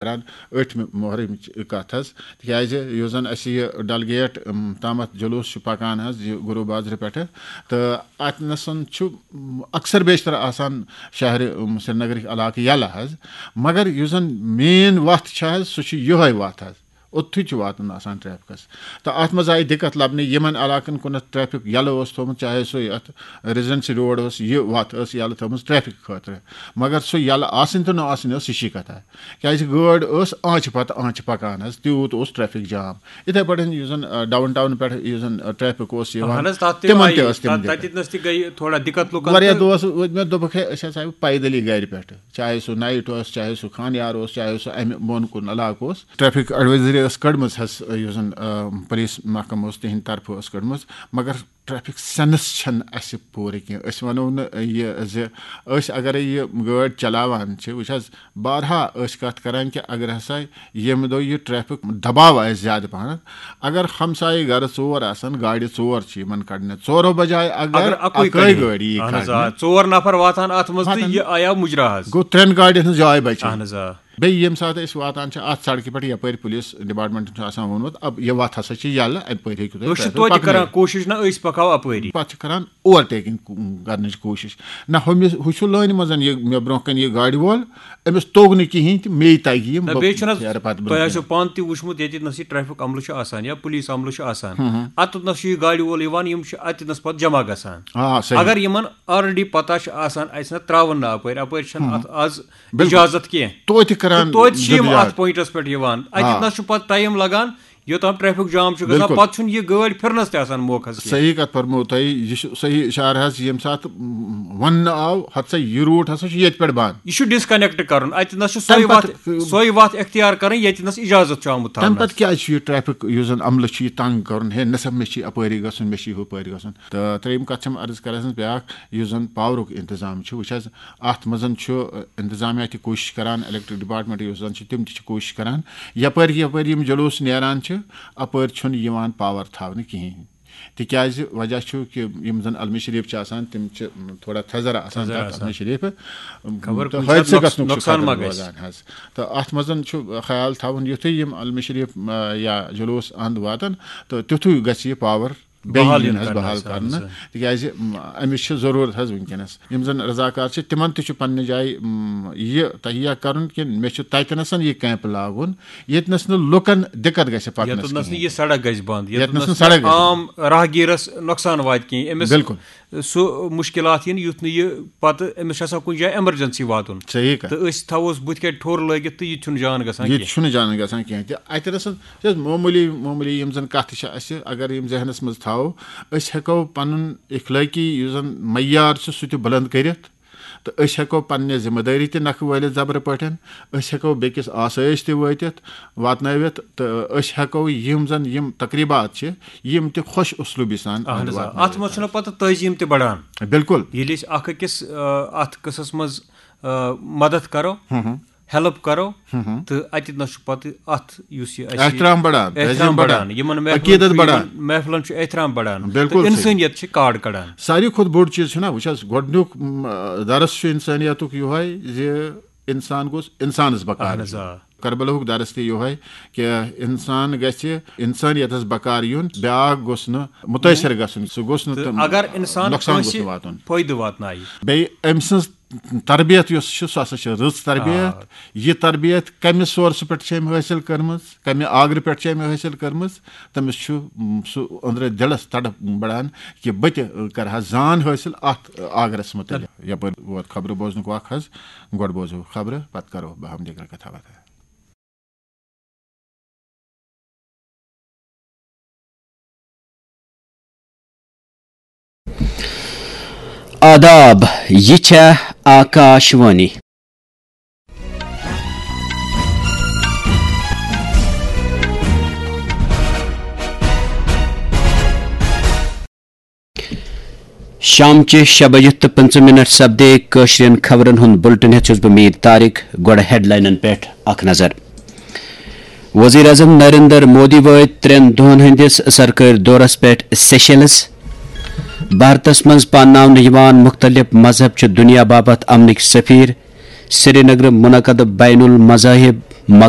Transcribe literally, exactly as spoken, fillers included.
کران ٲٹھمہِ محرمٕچ کتھ حظ، تِکیازِ یُس زن اسہِ یہِ ڈل گیٹ، ام، تامتھ جلوس چھُ پکان حظ، یہِ گروٗ بازرٕ پٮ۪ٹھٕ، تہٕ اتہِ نسن چھُ، ام، اکثر بیشتر آسان شہرِ، ام، سرینگرٕکۍ علاقہٕ یلہٕ حظ، مگر یُس زن مین وتھ چھِ حظ، سُہ چھُ یِہوے وتھ حظ۔ اوٚتتھٕے چھُ واتُن آسان ٹریفکس۔ تہٕ اتھ منٛز آیہِ دِقت لبنہٕ یِمن علاقن کُنتھ ٹریفک یلہٕ اوس تھوٚومُت، چاہے سُہ یتھ ریزیڈنسی روڈ اوس، یہِ وتھ ٲس یلہٕ تھٲومٕژ ٹریفک خٲطرٕ، مگر سُہ یلہٕ آسٕنۍ تہٕ نہٕ آسٕنۍ ٲس ہِشی کتھا، کیازِ گٲڑۍ ٲس آنچہِ پتہٕ آنچہِ پکان حظ، تیوٗت اوس ٹریفک جام۔ یِتھے پٲٹھۍ یُس زن، آ، ڈاؤن ٹاؤن پٮ۪ٹھ یُس زن، آ، ٹریفک اوس یِوان، اہن حظ، تتھ تہِ تِمن آیہِ، تہِ ٲس تِم تتھ، دِقت۔ تتہِ نس تہِ گٔیہِ تھوڑا دِقت لُکن واریاہ تہٕ دۄہ ٲس وٲتۍ مےٚ، دوٚپُکھ، ہے، أسۍ ہسا آیہِ پیدلی گرِ پٮ۪ٹھٕ، چاہے سُہ نایٹ اوس، چاہے سُہ خانیار اوس، چاہے سُہ امہِ بۄن کُن علاقہٕ اوس۔ ٹریفک ایڈوائزری ٲس کٔڑمٕژ حظ، یُس زن، آ، پولیس محکمہٕ اوس، تِہنٛدِ طرفہٕ ٲس کٔڑمٕژ، مگر ٹریفک سینس چھنہٕ اسہِ پوٗرٕ کینٛہہ۔ أسۍ ونو نہٕ یہِ زِ أسۍ اگرے یہِ گٲڑۍ چلاوان چھِ، وٕچھ حظ، بارہا ٲسۍ کتھ کران کہِ اگر ہسا ییٚمہِ دۄہ یہِ ٹریفک دباو آسہِ زیادٕ پہنتھ، اگر ہمسایہِ گرٕ ژور آسن، گاڑِ ژور چھِ یِمن کڑنہِ، ژورو بجایہِ اگر اگر اکُے اکٲے کڑِ۔ گٲڑۍ یی اہن حظ، آ، کڑنہِ، ژور نفر واتان اتھ منٛز تہٕ واتان۔ یہِ آیاو مُجرا حظ۔ گوٚو ترٛٮ۪ن گاڑٮ۪ن ہٕنٛز جاے بچے۔ اہن حظ، آ۔ بیٚیہِ ییٚمہِ ساتہٕ أسۍ واتان چھِ اَتھ سڑکہِ پٮ۪ٹھ، یَپٲرۍ پُلیٖس ڈِپارٹمنٹَن چھُ آسان ووٚنمُت، اَب یہِ وَتھ ہسا چھِ یَلہٕ، اَمہِ پٲٹھۍ ہیٚکِو تُہۍ أسۍ چھِ ٹریفک توتہِ پَکنٲیِتھ۔ کران کوٗشِش، نہ أسۍ پَکاو اَپٲری۔ پَتہٕ چھِ کران اوور ٹیکنگ کرنٕچ کوٗشِش۔ نہ ہُمِس، ہُہ چھُ لٲنہِ منٛز یہِ مےٚ برونٛہہ کَنہِ یہِ گاڑِ وول، أمِس توٚگ نہٕ کِہیٖنۍ تہِ، مے تَگہِ یِم، نہ، بہٕ بیٚیہِ چھُنہٕ حظ، پھیرٕ پَتہٕ تۄہہِ برونٛہہ آسیو کُن۔ پانہٕ تہِ وٕچھمُت، ییٚتہِ نَس یہِ ٹریفک عملہٕ چھُ آسان یا پُلیٖس عملہٕ چھُ آسان، ہُم، ہُم۔ اَتٮ۪تھ نَس چھُ یہِ گاڑِ وول یِوان، یِم چھِ اَتٮ۪تھ نَس پَتہٕ جمع گژھان۔ آ، صحیح۔ اگر یِمن already پتہ چھِ آسان، اَسہِ نہ ترٛاوُن نہٕ اَپٲرۍ، اَپٲرۍ چھَنہٕ ہُم۔ اَتھ آز بِلکُل۔ اِجازت کینٛہہ۔ توتہِ کران تہٕ توتہِ چھِ یِم گُزار۔ اَتھ پوینٹَس پٮ۪ٹھ یِوان۔ اَتہِ آ۔ نَس چھُ پَتہٕ ٹایم لَگان، یوٚتام ٹریفک جام چھُ گژھان، بِلکُل۔ پَتہٕ چھُنہٕ یہِ گٲڑۍ پھِرنَس تہِ آسان موقعس کینٛہہ۔ صحیح کَتھ فرمو تۄہہِ، یہِ چھُ صحیح اِشارٕ حظ، ییٚمہِ ساتہٕ، م، وَننہٕ آو، ہَتہٕ سا یہِ روٗٹ ہسا چھُ ییٚتہِ پٮ۪ٹھ بنٛد۔ یہِ چھُ disconnect کَرُن، اَتہِ نَس چھُ سۄے تَمہِ وَتھ، پَتہٕ، سۄے وَتھ اختیار کَرٕنۍ، ییٚتہِ نَس اِجازت چھُ آمُت تَمہِ تھاونَس۔ پَتہٕ کیٛازِ چھُ یہِ ٹریفک یُس زَن عملہٕ چھُ یہِ تنٛگ کَرُن، ہے نہ سا مےٚ چھُ یہِ اَپٲری گژھُن، مےٚ چھُ یہِ ہُپٲرۍ گژھُن؟ تہٕ ترٛیٚیِم کَتھ چھَم عرض کَران بہٕ بیٛاکھ، یُس زَن پاورُک اِنتظام چھُ، وٕچھ حظ، اَتھ منٛز چھُ، اِنتظامیہ تہِ کوٗشِش کَران، الیکٹرک ڈپارٹمنٹ یُس زَن چھُ، تِم تہِ چھِ کوٗشِش کَران، یَپٲرۍ یَپٲرۍ یِم جلوٗس نیران چھِ، اَپٲرۍ چھُنہٕ یِوان پاور تھاونہٕ کِہیٖنۍ۔ تِکیٛازِ وجہ چھُ کہِ یِم زَن علمِ شریٖف چھِ آسان، تِم چھِ تھوڑا تھزرٕ آسان تھزرٕ تَتھ آسان۔ علمِ شریٖفہٕ، خبر تہٕ کُنہِ ساتہٕ حٲدثہٕ نۄقص-، گژھنُک چھُ نۄقصان خطرٕ ما گژھِ۔ روزان حظ۔ تہٕ اَتھ منٛز چھُ خیال تھاوُن، یُتھُے یِم علمِ شریٖف، آ، یا جلوٗس اَنٛد واتَن، تہٕ تیُتھُے گژھِ یہِ پاور بیٚیہِ بحال یُن یُن حظ، کرنہٕ بحال حظ، اہن کرنہٕ، حظ۔ تِکیٛازِ، م، أمِس چھِ ضروٗرت حظ وٕنکیٚنَس۔ یِم زَن رضاکار چھِ، تِمَن تہِ چھُ پننہِ جایہِ، م، یہِ تہیہ کرُن کہِ مےٚ چھُ تَتہِ نَسَن یہِ کیمپ لاگُن، ییٚتہِ نَس نہٕ لُکَن دِقت گژھِ پَکنَس ییٚتٮ۪تھ نَس نہٕ کِہیٖنۍ۔ یہِ سڑک گژھِ بنٛد، ییٚتٮ۪تھ ییٚتٮ۪تھ نَس نہٕ نہٕ سڑک گژھِ عام راہگیٖرَس نۄقصان واتہِ کینٛہہ، أمِس بِلکُل۔ سُہ مُشکِلات یِن، یُتھ نہٕ یہِ پَتہٕ أمِس چھُ آسان کُنہِ جایہِ ایمرجنسی واتُن۔ صحیح کَتھ۔ تہٕ أسۍ تھاووس بُتھِ کَنہِ ٹھوٚر لٲگِتھ تہٕ یہِ تہِ چھُنہٕ جان گژھان یہِ تہِ کینٛہہ۔ چھُنہٕ جان گژھان کینٛہہ۔ تہِ اَتہِ نَسَن چھِ حظ معموٗلی، معموٗلی یِم زَن کَتھٕ چھِ اَسہِ، اگر یِم ذہنَس منٛز تھاوو، أسۍ ہٮ۪کو پَنُن اخلٲقی یُس زَن معیار چھُ، سُہ تہِ بُلنٛد کٔرِتھ، تہٕ أسۍ ہٮ۪کو پننہِ ذمہٕ دٲری تہِ نکھٕ وٲلِتھ زبرٕ پٲٹھۍ، أسۍ ہٮ۪کو بیٚکِس آسٲیِش تہِ وٲتِتھ، واتنٲوِتھ، تہٕ أسۍ ہٮ۪کو یِم زن یِم تقریٖبات چھِ، یِم تہِ خۄش اسلوٗبی سان اہن اَنٛد حظ، آ۔ واتنٲوِتھ اَتھ منٛز چھُنہ حظ۔ پتہٕ تعظیٖم تہِ بڑان۔ بِلکُل۔ ییٚلہِ أسۍ اکھ أکِس، آ، اَتھ قٕصس منٛز، آ، مدد کرو، ہُم ہُم۔ ہیلپ کرو، ہُم ہُم۔ تہٕ اَتہِ نَس چھُ پتہٕ اَتھ یُس یہِ اَسہِ احترام بڑان، احترام تعظیٖم بڑان۔ بڑان۔ یِمن محفلن عقیٖدت چھُ، بڑان۔ یِمن محفلن چھُ احترام بڑان۔ بِلکُل تہٕ صحیح۔ اِنسٲنیت چھِ کارڈ کڑان۔ ساروی کھۄتہٕ بوٚڑ چیٖز چھُنہ، وٕچھ حظ، گۄڈٕنیُک، م، درس چھُ اِنسٲنیتُک یِہوٚے زِ اِنسان گوٚژھ اِنسانَس بکار اہن حظ، یُن۔ آ۔ کربلاہُک درس تہِ یِہوٚے کہِ اِنسان گژھِ اِنسٲنیتَس بکار یُن، بیٛاکھ گوٚژھ نہٕ مُتٲثر گژھُن، سُہ گوٚژھ نہٕ تہٕ تہٕ اگر اِنسان نۄقصان گوٚژھ کٲنٛسہِ نہٕ واتُن۔ فٲیدٕ واتنایہِ۔ بیٚیہِ أمۍ سٕنٛز تربیت یۄس چھِ، سۄ ہسا چھِ رٕژ تربیت۔ آ۔ یہِ تربیت کَمہِ سورسہٕ پٮ۪ٹھ چھِ أمۍ حٲصِل کٔرمٕژ، کَمہِ آگرٕ پٮ۪ٹھ چھِ أمۍ حٲصِل کٔرمٕژ، تٔمِس چھُ، م، سُہ أنٛدرٕ دِلَس تڑپ بڑان کہِ بہٕ تہِ، ٲ، کرٕ ہا زان حٲصِل اَتھ، ٲ، آگرَس مُتعلِق۔ یَپٲرۍ ووت خبرٕ بوزنُک وق حظ، گۄڈٕ بوزو خبرٕ، پَتہٕ کرو بہٕ ہم دیگر کتھا باتھا۔ آداب، یہِ چھےٚ آکاش وانی۔ شامچہِ شےٚ بجہِ تہٕ پٕنٛژٕہ منٹ سپدے کٲشرٮ۪ن خبرن ہُنٛد بُلٹن ہٮ۪تھ چھُس بہٕ میٖر طارق۔ گۄڈٕ ہیڈلاینن پٮ۪ٹھ اکھ نظر۔ وزیر اعظم نریندر مودی وٲتۍ ترٛٮ۪ن دۄہن ہٕنٛدِس سرکٲرۍ دورس پٮ۪ٹھ سیشلز۔ بھارتس منٛز پانناونہٕ یِوان مُختٔلِف مذہب چھِ دُنیا باپتھ امنٕکۍ سفیر۔ سرینگرٕ منعقد بین المذاہب مکان